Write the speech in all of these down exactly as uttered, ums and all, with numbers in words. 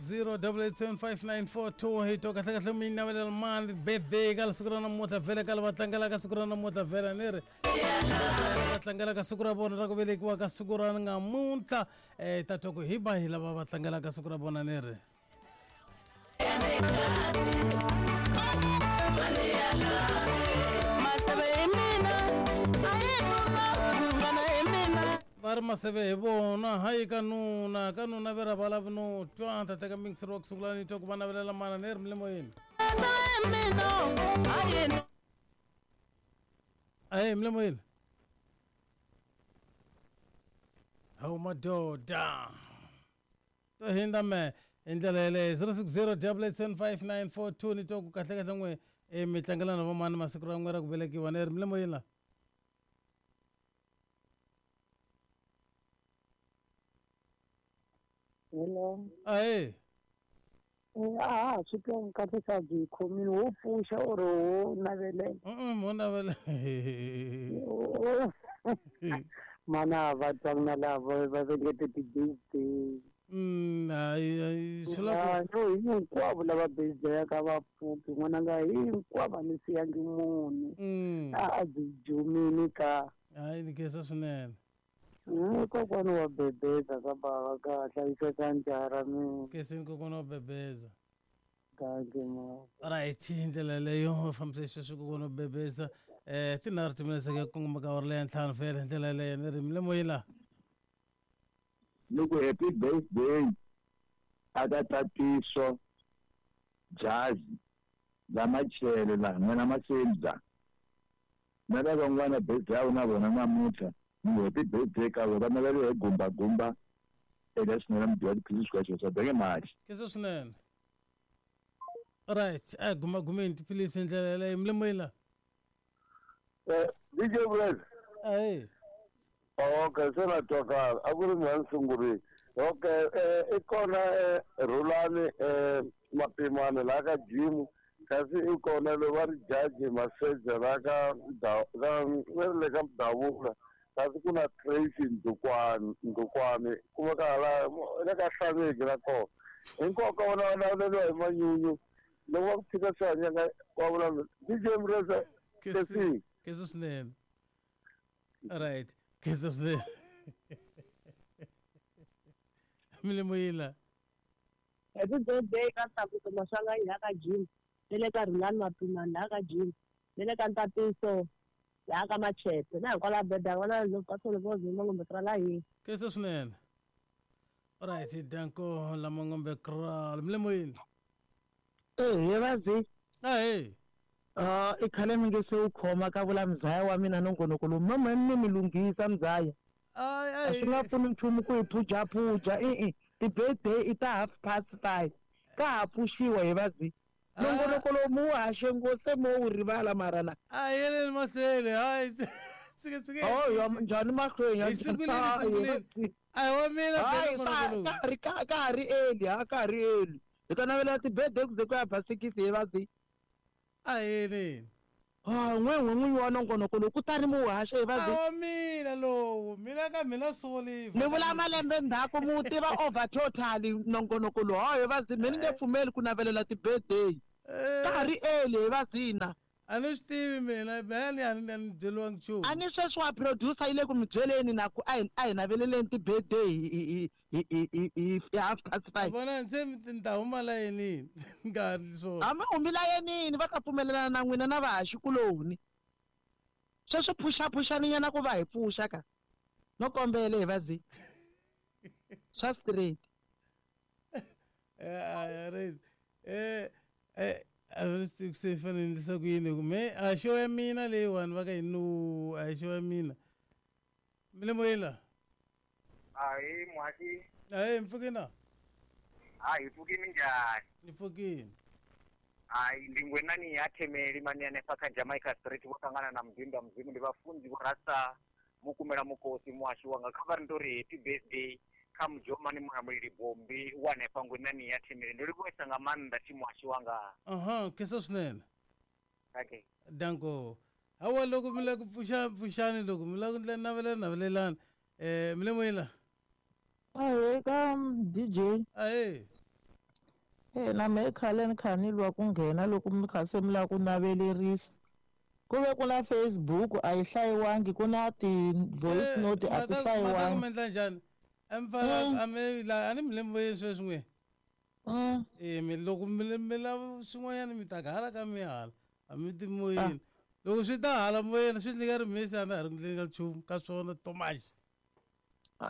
zero double eight seven five nine four two hi to kahle kahle mi navelela mani birthday ka siku ra namuntlha vhele ka lava tlangelaka siku ra namuntlha vhele ni ri va tlangelaka siku ra vona ra ku velekiwa ka siku ra namuntlha um ta twa ku hi va hi lava va tlangelaka siku ra vona ni ri va ri maseve hi vona hayi ka nuna ka nuna ve ra va lavi no twa ta teka mingiseri wa ku sungula ni twa ku va navelela mana ni ri milemoyeni ahe milemoyeni hawu madoda to hindza me hi ndlela yeleyo zero six zero double eight seven five nine four two ni twa ku kahle kahle n'we e mi tlangela na vamani masiku ra n'we ra ku velekiwa ni ri milemoyeni la Hello. Ahe. A swi twa kahle ka byi khomile wo pfuxa or wo navelela. Mm wo navelela. Mana va twanga lava va vekete ti-birthday. Mm hayi swi la ku no hinkwavo lava birthday ka va pfuki n'wananga hinkwavo a ni siyangi munhu. A a byi jumini ka. Hayi ni khensa swinene. Kokwana wa bebeza ka bava ka hlayiseka njhara mina. Kesini kokwana wa bebeza. Dankie ma. Right hi ndlela leyo va fambisa sweswi kokwana wa bebeza eh tinharhu timinetse ka kongoma ka awara leya ntlhanu vhele hi ndlela yeleyo ni ri milemoyeni la. Ni ku happy birthday a ka Tatiso Jazi la Machele la n'wana Masebza na lava van'wana birthday ya vona vona namuntlha. Happy birthday ka vona va hi gumba gumba eka swinene mudya tiphilisi swi ka swa benge mali khensa swinene right a guma gumeni tiphilisi hi ndlela yeleyo milemoyeni la D J Brez ahe okay se na twakala a ku ri mina ni sungurile okay i kona Rhulani Mapimani laha ka gym kasi i kona loyi va ri jaji Maseja laha ka va ri le ka Mdavula kasi ku na Tracy Ndukwani Ndukwani kuma ka hala le ka Hlaneki na kona hinkwako ka vona va naveleriwa hi manyunyu loko va ku tshika swi hanyaka wa vulavula D J Mreza kesi khensa swinene right khensa swinene milemoyeni la Happy birthday ka Tlakuso Maswanganyi laha ka gym ni le ka Rhulani Mapimani laha ka gym ni le ka Ntatiso laha ka Machete na hinkwalaho birthday vona loko ka Solovozi Mangombe ra la hina. Khensa swinene right danko la Mangombe kraal milemoyeni eh he vazi ahe ah i khale mi nge se wu khoma ka vula mzaya wa mina nongonoko lowu mama ni mi lunghisa mzaya a swi nga pfuni nchumu ku hi phujaphuja i-i ti-birthday i ta half past five ka ha pfuxiwa hi vazi nongonoko lowu mu wu haxe ngo se mo wu rivala mara na a yeleni mahlweni hayi sike sike oh njhani mahlweni hi sunguleni sunguleni a hi wa mina hayi ka ha ri ka ha ri early ha ka ha ri early hi ta navelela ti-birthday ku ze ku ya ba six hi vazi a yeleni ah n'we n'we n'winyi wa nongonoko lowu kutani mu wu haxa hi vazi a wa mina lowu mina ka mina soliva ni vula malembe ndzhaku mu tiva over totally nongonoko lowu hayi vazi mina ni nge pfumeli ku navelela ti-birthday ka ha ri early hi vazina a ni swi tivi mina mani a ni a ni byeriwangi nchumu a ni sweswi wa producer yi le ku mi byeleni na ku a hi a hi naveleleni ti-birthday hi hi hi hi hi hi half past five vona se ni ta huma layinini nga ha ri swona a mi humi layinini va ta pfumelelana na n'wina na vahaxikuloni sweswi phuxaphuxaninyana ku va hi pfuxa ka no kombele hi vazi swa straight eh eh eh a ni swi tivi ku se fanele ni endlisa ku yini ku me a xo ya mina leyiwani va ka yi no a hi xo ya mina milemoyeni la Ahi muhaxi ahe mi pfukini na hayi hi pfukini njhani ni pfukini hayi ndi ngwenani ya Themeli mani hanefha kha Jamaica Street vho ṱangana na Mudinda Mudzimu ndi vhafunzi vho rasa mukumela mukosi muhaxi wanga kha vha ri ndo ri happy birthday kha Mujomani Mulamuleli Bombi wa hanefha ngwenani ya Themeli ndo livhuwesa nga maanḓa thi muhaxi wanga aha khensa swinene okay danko hawa loko mi lava ku pfuxa pfuxani loko mi lava ku ndlela navelela navelelani eh milemoyeni la ahe ka D J ahe E na mehe khale ni kha ni lwa ku nghena loko mi kha se mi lava ku navelerisa. Ku ve ku na Facebook a yi hlayiwangi, ku na ti-voice note a ti mata ku hlayiwangi. mi endla njhani? Emfana a mi la a ni mi lembe sweswi n'we. Mm. E mi loko mi mi lava swin'wanyana mi ta hala ka mi hala a mi ti moyeni. Loko swi ta hala moyeni swi ndlika ri misi a na ha ri ku ndleni ka nchumu ka swona Thomas.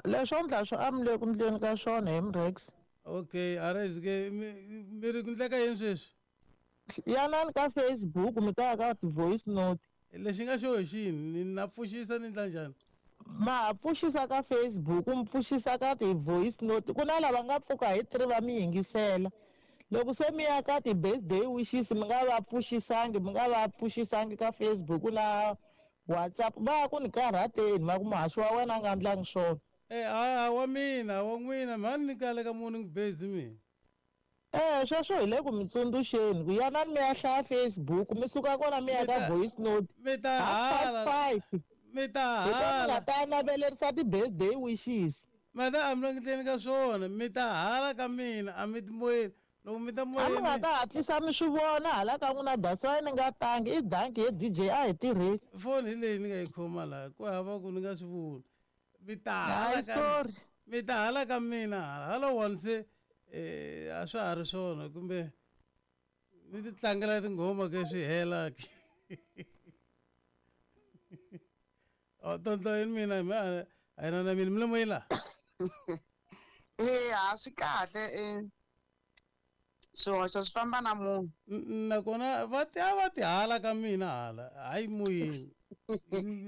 Leswo ndla swo a mi le ku ndleni ka swona hi Mrex. Okay, a ri ke mi mi ri ku ndleka yini sweswi? Yanani ka Facebook mi ta ya ka ti-voice note. Lexi nga xo hi xini ni na pfuxisa ni ndla njhani? Ma ha pfuxisa ka Facebook, mi pfuxisa ka ti-voice note. Ku na lava nga pfuka hi three va mi yingisela. Loko se mi ya ka ti-birthday wishes mi nga va pfuxisangi, mi nga va pfuxisangi ka Facebook na WhatsApp, va ya ku ni karhateni va ku muhaxi wa wena a nga ndlangi swona. Eh a wa mina wa n'wina mhani ni kale ka morning busy mina. Eh sweswo hi le ku mi tsundzuxeni ku yanani mi ya hlaya Facebook, mi suka kona mi ya ka voice note. Mi ta hala. Five. Mi ta Hi kona mi hala. nga ta navelerisa ti-birthday wishes. Mata a mi languteni ka swona, mi ta hala ka mina a mi ti moyeni. Loko mi ta A mi nga moyeni ta hatlisa mi swi vona hala ka n'wina that's why ni nga tangi i danki he D J a hi tirheni. Foni hi leyi ni nga yi khoma laha ku hava ku ni nga swi voni. Mi ta hala Hayi ka sorry. mi ta hala ka mina hala hala one se eh a swa ha ri swona kumbe ni ti tlangela tinghoma ke swi hela ke. Oh tonto yini mina mi a a yi na na mina mi le moyeni la. Eh a swi kahle eh swihoxo swi famba na munhu. Nakona va ti a va ti hala ka mina hala hayi moyeni.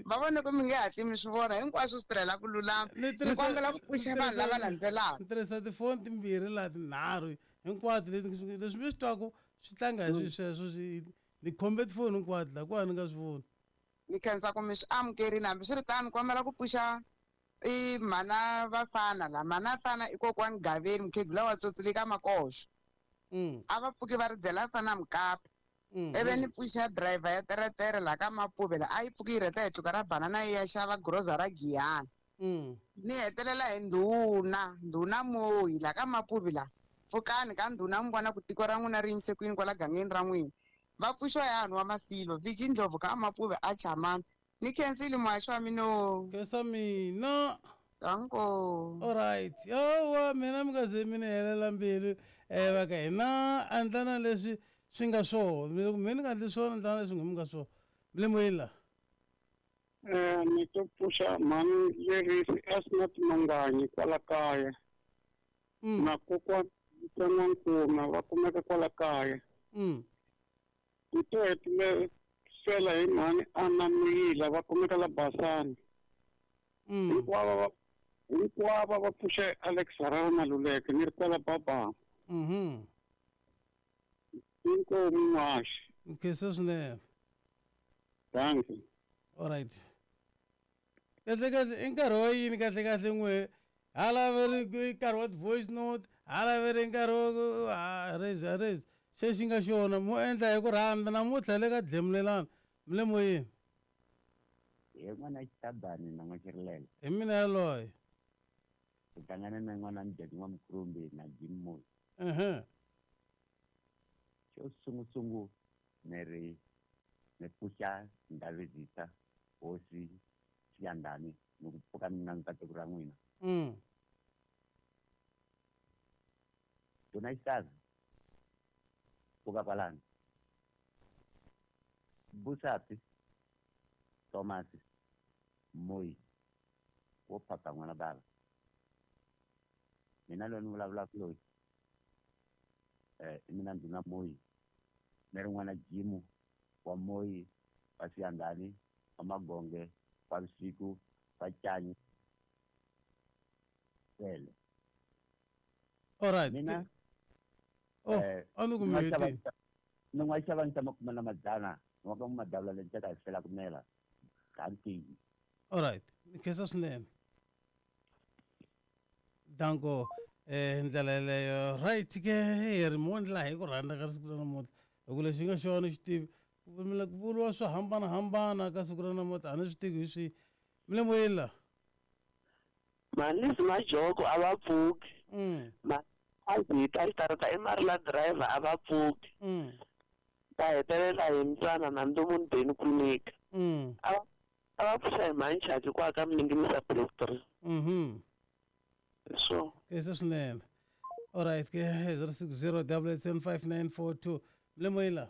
Va vone ku mi nge hatli mi swi vona hinkwaswo swi tirhela ku lulama. Ni Ni tirhisa kombela ku pfuxa vanhu lava landzelaka. ni tirhisa tifoni timbirhi laha tinharhu hinkwato leti leswi mi swi twaku swi tlanga hi swi sweswo swi ni khombe tifoni hinkwato laha ku ni nga swi voni. Ni khensa ku mi swi amukerile hambiswiritano ni kombela ku pfuxa i mhana Vafana la mhana Fana i kokwani Gaveni mukhegula wa Tsotsile ka Makoxo. Mm. A va pfuki va ri byela fana mukapa. Mm. Ivi ni pfuxa driver ya teretere laha ka Mapuve la a yi pfuki yi rheta hi tluka ra banana yi ya xava groza ra Giyani. Mm. Ni hetelela hi ndhuna, ndhuna Moyi laha ka Mapuve la. Pfukani ka ndhuna mi vona ku tiko ra n'wina ri yimise kwini kwala gangeni ra n'wina. Va pfuxiwa hi hanhu wa Masilo, Viji Ndlovu ka Mapuve a Chamani. Ni khensile muhaxi wa mina. Khensa mina. Danko. All right. Yowa mina mi nga ze mi ni helela mbilu eh va ka hina endla na leswi swi nga swona. Loko mina ni nga endli swona endla na leswi mi nga swona. Mi le moyeni la. Eh ni to pfuxa mhani Lerisi Asnath Manganyi kwala kaya. Na kokwana N'wankuna va kumeka kwala kaya. Mm. Ni to hetelela hi mhani Anna Muyila va kumeka la Basani. Mm. Hinkwavo va hinkwavo va pfuxa Alex Harare Maluleke ni ri kwala Babama. Mhm. Inkomu muhaxi. Nkhensa swinene. Thank you. All right. Kahle kahle i nkarhi wa yini kahle kahle n'we hala va ri i nkarhi wa ti-voice note hala va ri nkarhi wa ku ha rezi ha rezi xexi xi nga xona mo endla hi ku rhandza namuntlha le ka dlemulelana mi le moyeni. Hi n'wana Xitabani na N'waxirilele. Hi mina yaloye. Hi hlangane na n'wana Mujadi N'wamukhulumbi na Jim Moyi. Uh-huh. Xo sungusungu ni ri ni pfuxa Ndhavezisa hosi Xiyandani ni ku pfuka mina nkateko ra n'wina. Mm. Dona Xitaza pfuka kwalano. Busapi Thomas Moyi wo phaka n'wana bava. Mina loyi ni vulavulaka loyi eh i mina ndhuna Moyi ni ri n'wana Jimu wa Moyi wa Xiyandani wa Magonge wa Vusiku wa Canyi Sele. All right. Mina Oh, eh, a ni ku ni nga mi xava hetini. ni nga xava ni makume na madzana ni wa ka madavula leyi ta hi fela ku mela danki. All right. Ni khensa swinene. Danko eh ndlela yeleyo right ke hi ri mo ndlela hi ku rhandza ka siku ra namuntlha hi ku lexi nga xona xi tivi ku mi ku vuriwa swo hambanahambana ka siku ra namuntlha a ni swi tivi hi swihi mi le moyeni la. Manisi Majoko a va pfuki. Mm. Ma A byi ta xitarata i Marila driver a va pfuki. Ta hetelela hi mbyana na ndomu beni ku nyika. A a va pfuxa hi manchaki kwa ka Mninginisa Black three. Mhm. So. Ke swinene. All right, ke zero six zero double eight seven five nine four two. Mlemoyila.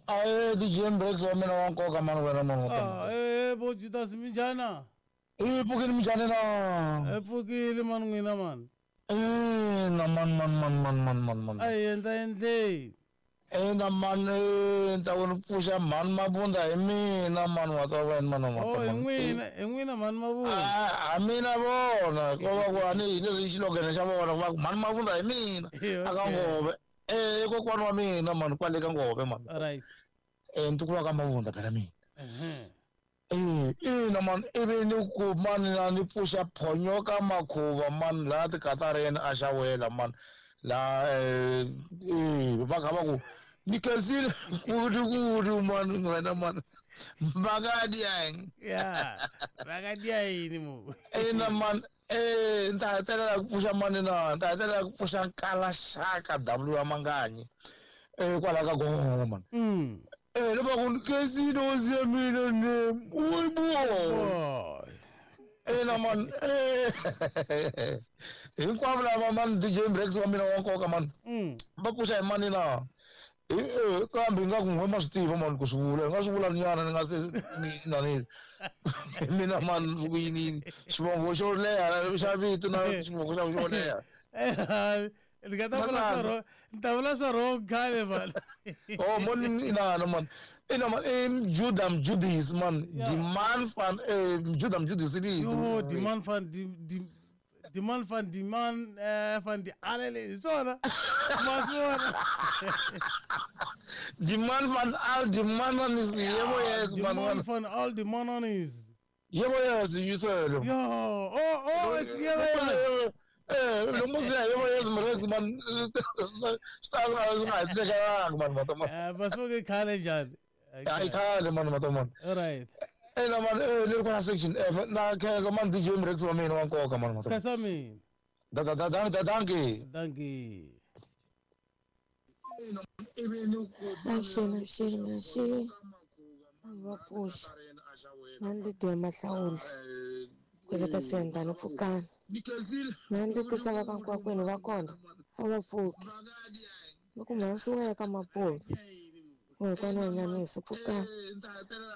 Aye, D J Mbrex wa mina wa nkoka mani wena mani. Ah, eh bo Judas minjana. Eh pfukile minjani na? Eh pfukile mani n'wina mani. Eh na man man man man man man man. Ayi endla endle. Eh na man eh ta wena pfuxa mani mabunda hi mina mani wa ta wena mani wa ta. Oh n'wina n'wina mani mabunda. Ah a mina vona ko va ku ani hi leswi xilogene xa vona va ku mani mabunda hi mina. Aka ngove. Eh kokwani wa mina mani kwale ka ngove mani. All right. Eh ntukulu ka mabunda phela mina. Eh. Eh ina man ivi ni ku mani na ni pfuxa phonyoka makhuva mani laha tikatareni a xawela mani la eh va kha va ku ni khensile ku ku mani wena mani vakadiang ya vakadia yini mo ina man eh ni ta hetelela ku pfuxa mani na ni ta hetelela ku pfuxa Nkalaxaka W ya Manganyi eh kwala ka Gongo mani. Eh le ba ku khensile hosi ya mina ne o bo eh na man eh hinkwavo lava man D J Mbrex wa mina wa nkoka man va pfuxa hi mani na eh kambe nga ku n'we ma swi tiva mani ku swi vula hi nga swi vula nyana ni nga se mina ni mina man ku yini xivongo xo leha xa vito na xivongo xa xo leha ni nga ta vula swa wrong ni ta vula swa wrong khale man. Oh mon ina no man ina man eh Judah Judis man demand van eh Judah Judis vito yo demand van di demand van die man eh van die alele swona maswona demand van al die mannen is yebo yes man demand van al die mannen is yebo yes you said yo oh oh is yebo yes. Eh lo musi yebo yes mrex man sta swi nga hetisekanga man matoma eh basuke khale njhani ai khale man matoma. All right. Eh na man eh le kona section F na khensa man D J Mrex wa mina wa nkoka man matoma. Khensa mina. Da da da da dankie. Dankie. Avuxeni avuxeni avuxeni va pfuxa mani Lydia Mahlawula kwale ka Siyandhani pfukani mani Letisa va ka Nkwakwenu va kona a va pfuki ni ku mhansi wa ya ka Mapuve kokwana wa Nyanisi pfukani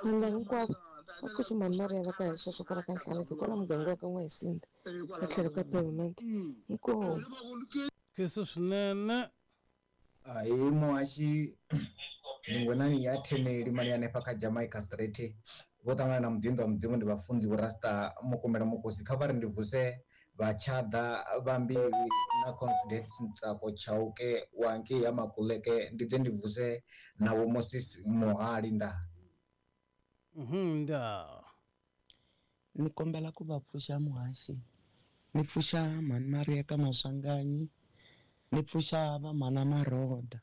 vanhu lava hinkwavo va pfuxi mhani Maria va ka hi sweswo kwala ka Nhlaneki kwala muganga wa ka N'wahisinda va tlhelo ka pavement inkomu. Kheso swinene. Ahee muhaxi ni ngwenani ya Themeli mali hanefha kha Jamaica Street vho ṱangana na muḓinḓa wa Mudzimu ndi vhafunzi vho Rasta Mukumela Mukosi kha vha ri ndi vuse vhatshada vha mbili na Confidence Ntsako Chauke wa ngei ya Makuleke ndi ḓe ndi vuse na vho Moses Muhali nda. Mhm nda. Ni kombela ku va pfuxa muhaxi ni pfuxa mhani Maria ka Maswanganyi ni pfuxa va mhana Maroda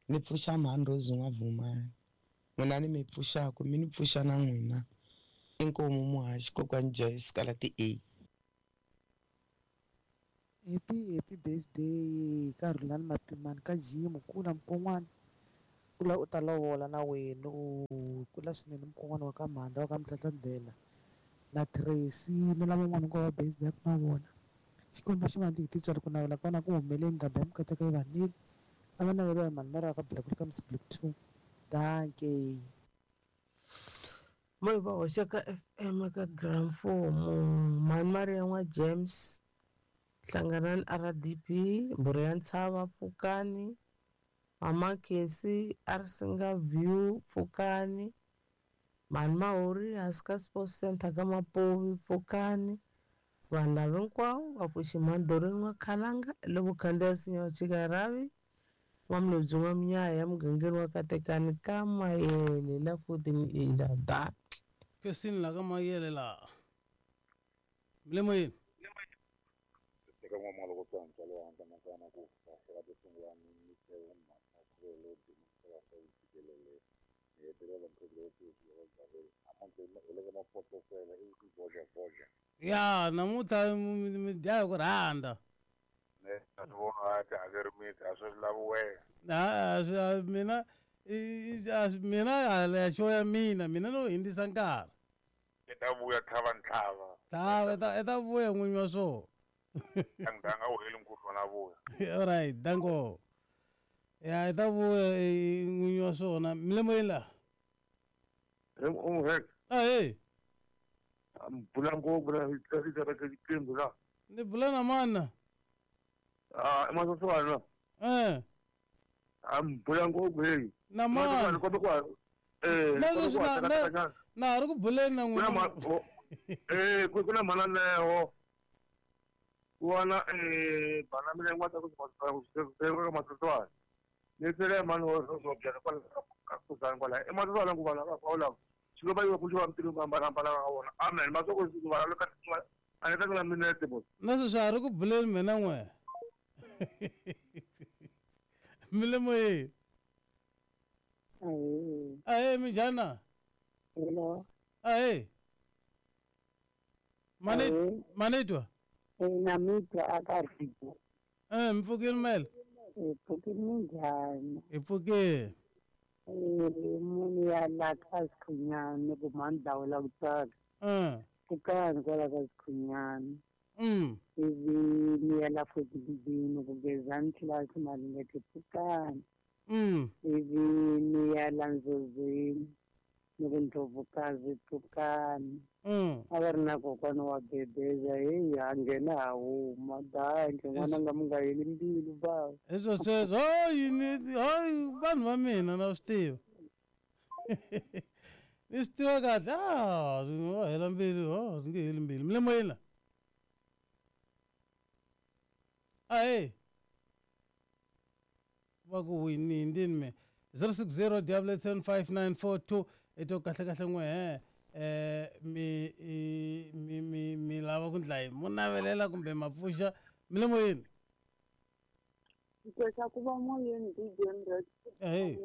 ni pfuxa mhani Rose N'wavumani n'wina ni mi pfuxaku mi ni pfuxa na n'wina inkomu muhaxi kokwani Joyce kala ti A. Happy happy birthday ka Rhulani Mapimani ka Jim kula mukon'wana kula u ta lovola na wena u kula swinene mukon'wana wa ka Mhanda wa ka Mhlahlandlela na Tracy na lavan'wana hinkwavo va birthday na vona Xikwembu xi va ndzi hi titswari ku navela ka vona ku humeleni ndhambi ya mikateko yi vanile a va naveriwa hi mhani Maria ka Black ka Miss Black two. Dankie. Moyi va hoxa ka F M ka Gramfomo mhani Maria n'wa James Hlanganani R D P Mbhuri ya Ntshava pfukani Mama Khesi Arsinga View pfukani Mhani Mahori Haska Sports Center ka Mapuvi pfukani vanhu lava hinkwavo va pfuxi mhani Doreen n'wa Khalanga le vukhandziya nsinya wa Chikaravi n'wamulobyi n'wa Minyaya mugangeni wa Katekani ka Mayele la futhi ni ila dak Kesini la ka Mayele la Mlemoyini eka n'wamalo ko tsantsa le handle nakona ku fahlela to sungula ni mhaka khuvelo dima swa yi fikelele ni hetelela mphekelo wo tiyisa wa hi le ka mafotosela i ku voja voja ya namuntlha mi dya hi ku rhandza. Ne Ne a ni vona a ti hakeri miti a swi lavi wena. A mina mina hala ya show ya mina mina no hindzisa nkarhi. I ta vuya tlhava ntlhava. Tlhava i ta vuya n'winyi wa swona. Anganga u heli nkulu na vuya. All right, danko. Ya i ta vuya n'winyi wa swona. Mi le moyeni la? Ahee. Bula ngopfu na xiqembu la. Ni bula na mani? Ah, i Masoswana. Eh. Am bula ngopfu hey. Na mani? Eh, na na ri ku buleni na n'wina. Eh, ku na mhana Neo. Wana eh bana mina n'wa ta ku ka Masoswana. Ni tsele mani wo swo byela kwala ka kuzani kwala. I Masoswana ku vana va la. Xilo va yiwa ku xiva mitirho ku hambanahambana ka vona. Amen. Masoko ku va ka a ni ta na minete bo. Na sweswi a ri ku buleni mina n'we. Mi le moyeni. Ahee minjhani? Hello. Ahee. Mani manitwa? Na mitwa aka rito. Eh, mi pfukile mele? Hi pfukile minjhani? Hi pfukile. Eh, munhu ya la ka Sikhunyani ku mhani dlawela ku tsaka. Eh. Pfukani kwala ka Sikhunyani. Mm. Ivi ni ya la Fotibini ku Gezani class Malingete pfukani. Mm. Ivi ni ya la Nzozini ni ku Ndlovukazi pfukani. Mm. A va ri na kokwana wa Bebeza heyi ha nghena ha huma danke n'wananga mi nga heli mbilu bava. Hi swo sweswo hayi ni hayi vanhu va mina na swi tiva. Ni swi tiva kahle ah swi nga hela mbilu oh swi nge heli mbilu. Mi le moyeni la? Ahee. Va ku wini ndini me zero six zero double eight seven five nine four two i to kahle kahle n'we he eh mi mi mi mi lava ku ndla yini mo navelela kumbe ma pfuxa mi le moyeni. Koxa ku va moyeni D J Mrex. Ahee.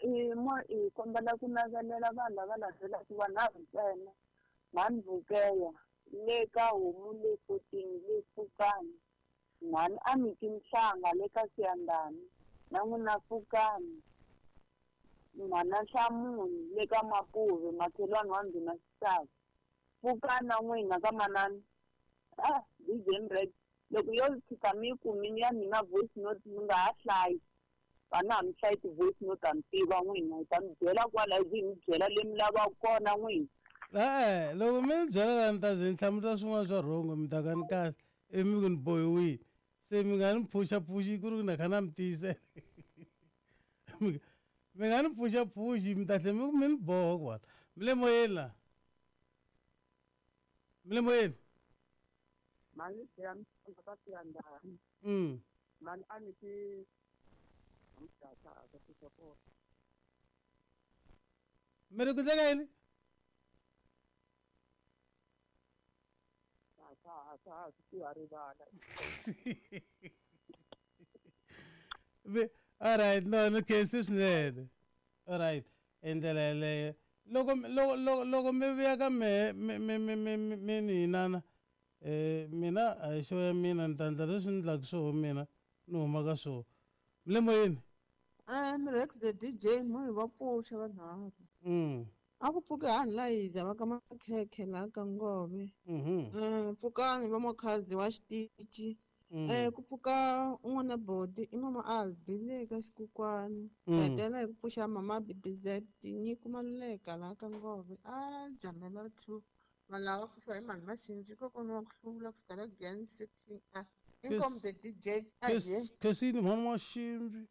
I mo i kombela ku navelela vanhu lava landzelaka vanharhu ntsena. Mhani Vukeya le ka homu le fourteen le Pfukani. Mhani Amiki Mhlanga le ka Siyandhani na n'wina Pfukani. Mhana Nhlamunhu le ka Mapuve makhelwani wa Ndhuna Xisava. Pfukani na n'wina ka manani. Ah, D J Mrex. Loko yo tshika mi yi kumile ya mina voice note mi nga ha hlayi. Vana ha mi hlayi ti-voice note ha mi tiva n'wina hi ta mi byela kwala ivi hi mi byela le mi lavaka kona n'wina. E-e loko mi ni byela la ni ta ze ni hlamula swin'wana swa wrong mi ta ka ni kahle ivi mi ku ni bohiwile se mi nga ni phuxaphuxi ku ri ku na kha na mi tiyisela mi nga ni phuxaphuxi mi ta tlhela mi ku mi ni boha kwala. Mi le moyeni la? Mi le moyeni? Mhani ya Mhlanga ka Siyandhani. Mm. Mhani a ni ti Mi ri ku tleka yini? All right, no ni khensi swinene. All right, hi ndlela yeleyo loko loko loko loko mi vuya ka mehe mi mi mi mi mi ni hinana eh mina a hi xo ya mina ni ta endla leswi ni endlaka swoho mina ni huma ka swoho. Mi le moyeni? Eh, Mrex the D J mo va pfuxa vanharhu. Mm. A ku pfuki hani la hiza va ka Makhekhe laha ka Ngove. Mhm. Eh, pfukani va Mokhazi wa xitichi. Eh, ku pfuka un'wana bodi i mama Albi le ka Xikukwani. Hetelela hi ku pfuxa mama B B Z Nyiko Maluleka laha ka Ngove. A jamela two. Vanhu lava pfuxa hi mhani Maxinji kokwana wa ku hlula ku sukela Grand section A. Inkomu the D J. Khensini mhani Maximbi.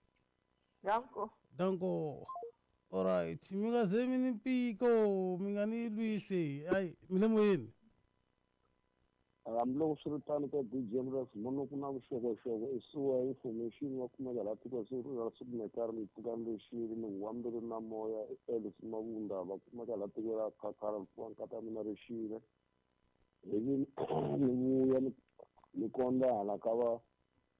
Danko. Danko. All right, mi nga ze mi ni mpiko mi nga ni lwisi ayi mi le moyeni. Hambiloko swi ri tano ka D J Mrex mono ku na vuxokoxoko i suwa information wa kumeka laha tiko ra Sikunetari mi pfuka lexili ni huwa na moya i Alice Mavunda va kumeka laha tiko ra Khakhara mpfuka nkata mina rixile ivi ni vuya ni ni kondza hala ka va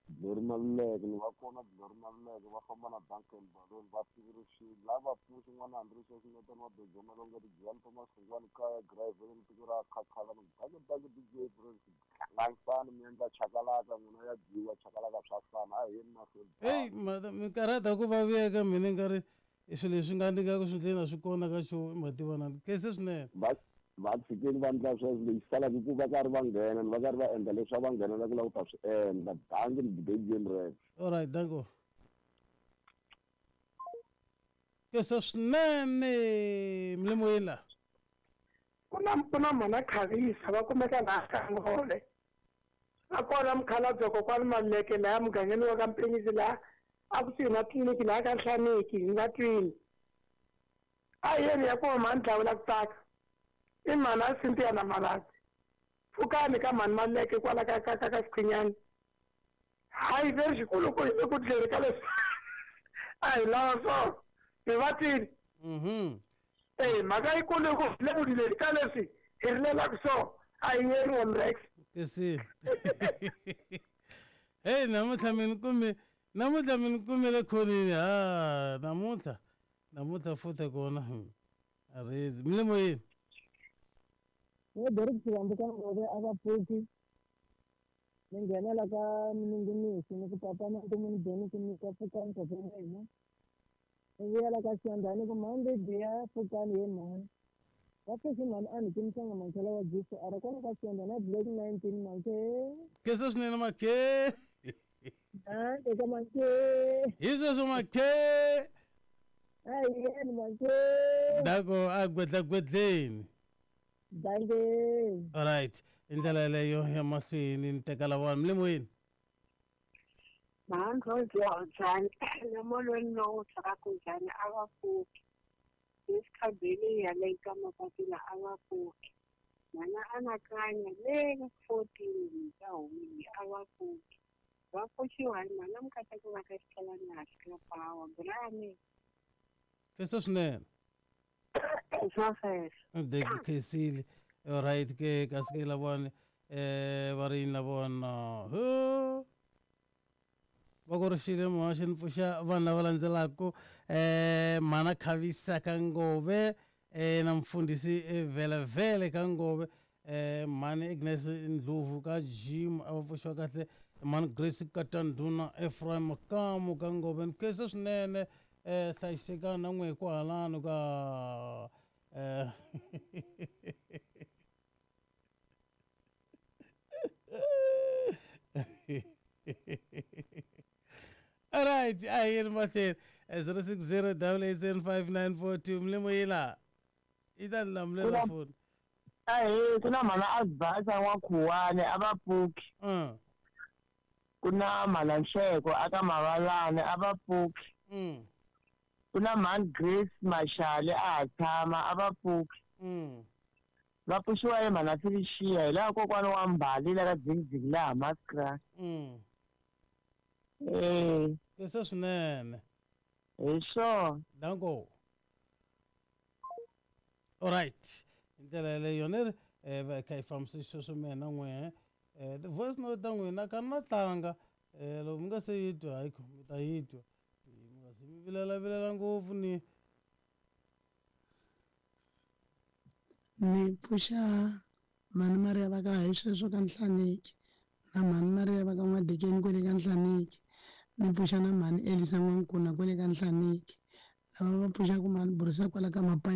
Glory Maluleke ni va kona Glory Maluleke va famba na Duncan Balloon va tivurixile lava pfuxi n'wana Andrew Xinetana wa Bejo Malonga Rijiyani Thomas Khungwani kaya Gravel tiko ra Khakhala ni danke danke D J Prince Langsani mi endla chakalaka n'wina ya dyiwa chakalaka swa fana a hi yeni mahlweni. Hey mi karhata ku va vuyeka mina nkarhi i swilo leswi nga ndingaku swi ndleni a swi kona ka xo i mativana kese swinene. Va va tshikeli va endla sweswo lexi salaka ku va karhi va nghena va karhi va endla leswi a va nghenela ku lava ku ta swi endla danki ni debate rex. All right, danko. Kese swinene mlimoyela. Ku na ku na mhana Khavisa va kumeka laha Kangole. A kona mukhalabye kokwani Maluleke laha mugangeni wa ka Mpenyisi laha a kusuhi na tliliniki laha ka Nhlaniki hi nga twini. A hi yeni ya kuma mhani Dlawula ku tsaka. I mhani a Cynthia na Malatsi. Pfukani ka mhani Maluleke kwala ka ka ka ka Xikhwinyani. Hayi ve ri xikuluku hi le ku dleni ka leswi a hi lava swona. Hi va twini. Mhm. Eh mhaka yikulu i ku hi le ku dleni ka leswi hi rilelaka swona a hi yeriwa Mrex. Kesi. Hey namuntlha mi ni kume namuntlha mi ni kumele khonini ha namuntlha namuntlha futhi kona a rezi mlimoyeni. Ni Derek Xivambu ka Ngove a va pfuki ni nghenela ka mininginiso ni ku papa na ntumuni beni ku nyika pfukani papa wa hina ni vuyela ka Xiyandhani ku mhani Lidiya pfukani he mhani va pfuxi mhani a ni timisanga mankhela wa Jesu a ri kwala ka Xiyandhani a black nineteen manke. Kese swinene makhe. Eka manke. Hi sweswo makhe. A hi yeni manke. Dako a gwedlagwedleni. Danke. All right. I ndlela yeleyo ya mahlweni ni teka lavana mlimoyeni. Mhani Rose njhani na molweni lowu tshakaka njhani a va pfuki. Esikhabeli yale ka mapapila a va pfuki. Mhana anakanya le fourteen ka humile a va pfuki. Va pfuxiwa hi mhana Mukateko va ka Xitsalwana ka Power Brian. Kese swinene. De khesile. All right ke kasi ke lavona eh va ri yini lavona ho va ku ri xile muhaxi ni pfuxa vanhu lava landzelaka eh mhana Khavisa ka Ngove eh na mfundhisi Vele ka Ngove eh mhani Agnes Ndlovu ka Jim a va pfuxiwa kahle mhani Grace Katanduna Ephraim Makamu ka Ngove ni khensa swinene eh hlayisekani na n'we kwalano ka eh All right, I hear mahlweni zero six zero double eight seven five nine four two mlimoyela i ta ni lamulela foni. Ahee ku na mhana Advance wa Khuwani a va pfuki. Ku na mhana Nhleko aka Mavalani a va pfuki. Ku na mhani Grace Mashale a ha tshama a va pfuki. Va pfuxiwa hi mhana Felicia hi laha kokwana wa Mbali la ka Dzingidzingi laha Maskra. Eh. Kese swinene. Hi swona. Danko. All right. Hi ndlela yeleyo ni ri eh va kha hi fambisa xisweswo mina n'we eh the voice note ta n'wina ka na tlanga eh loko mi nga se yi twa hayi mi ta yi twa mi nga se mi vilela vilela ngopfu ni ni pfuxa mhani Maria va ka hi sweswo ka Nhlaniki na mhani Maria va ka N'wadekeni kwele ka Nhlaniki ni pfuxa na mhani Elisa N'wankuna kwele ka Nhlaniki lava va pfuxaka mhani Burisa kwala ka Mapayi.